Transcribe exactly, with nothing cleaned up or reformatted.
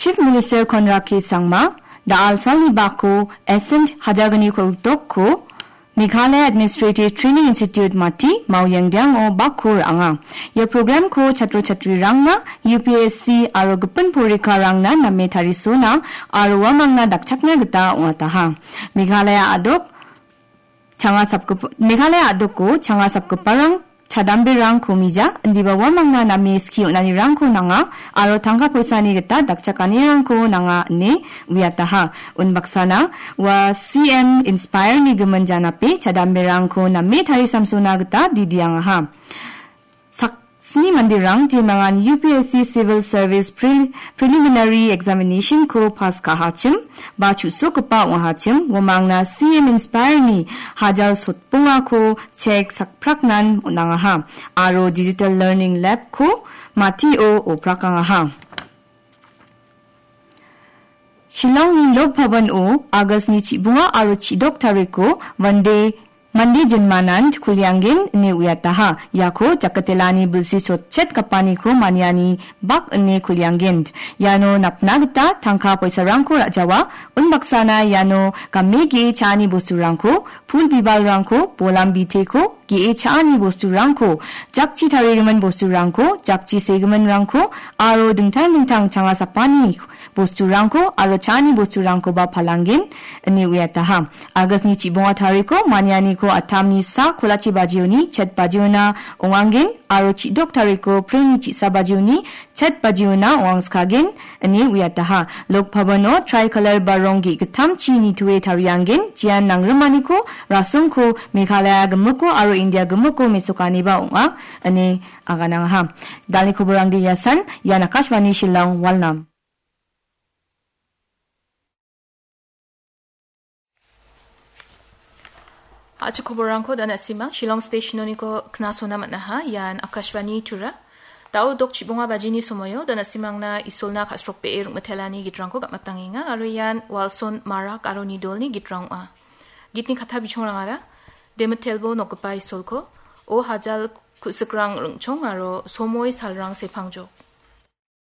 Chief Minister Conrad K Sangma, da·al salni bako Ascent Hajargni Kordokko Meghalaya Administrative Training Institute Mati Maoyangdiango bakko ra·anga. Ia programko chatro chatrirangna U P S C aro gipin porikarangna name tarisona aro uamangna dakchakna gita ong·ataha. Meghalaya a·dok changa sapgip-, Meghalaya a·doko changa sapgiparang chadamberangko mija, indiba uamangna name skie on·anirangko nanga, aro tangka poisani gita dakchakanirangko nanga ine uiataha. Unbaksana ua C M Inspire-ni gimin janape chadamberangko name tarisamsona gita didiangaha. Saksni manderang jemangan U P S C Civil Service Pre-, Preliminary Examination-ko pas ka·achim ba chu·sokgipa ong·achim, uamangna C M Inspire-ni hajal sotbongako chek sakpraknan on·angaha aro Digital Learning Lab-ko Matio oprakangaha. Shillongni Lok Bhavan-o August-ni chibonga aro chidok tariko Vande, Vande Janmanan kulianggen ine uiataha. Iako jakatelani bilsi sotchet gapaniko maniani bak ine kulianggen. Iano napna gita tangka poisarangko ra·jawa. Unbaksana iano game ge·e cha·ani bosturangko, pul bibalrangko, bolam biteko, ge·e cha·ani bosturangko, jakchi tarigimin bosturangko, jakchi segiminrangko, aro dingtang dingtang changa sapani bosturangko, aro cha·ani bosturangkoba palanggen, ine uiataha. August-ni chibonga tariko, manianiko atamni sa kolachi bajioni, chet bajiona ong·anggen, aro chidok tariko, pringni chisa bajioni, chet bajiona ong·angskagen, ine uiataha. Lok Bhavan-o tricolor ba rong ge·gittamchi nitoe tarianggen, jian nangrimaniko, rasongko, Meghalaya gimiko aro India gimiko mesokaniba ong·a, ine aganangaha. Dalni koborangde iasan, ian Akashvani Shillong, Walnam. A·chik koborrangko da·na simang Shillong Station-oniko knasona man·aha, ian Akashvani Tura. Da·o dok chibonga bajini somoio da·na simangna Isolna ka·srokbee rongmitelani gitrangko gam·atangenga, aro ian Walson Marak aro Nidolni gitrang ong·a. Gitni katta bichongrangara, Demitelbo nokgipa Isolko, O Hajal ku·sikrang ring·chong aro Somoi salrang sepangjok.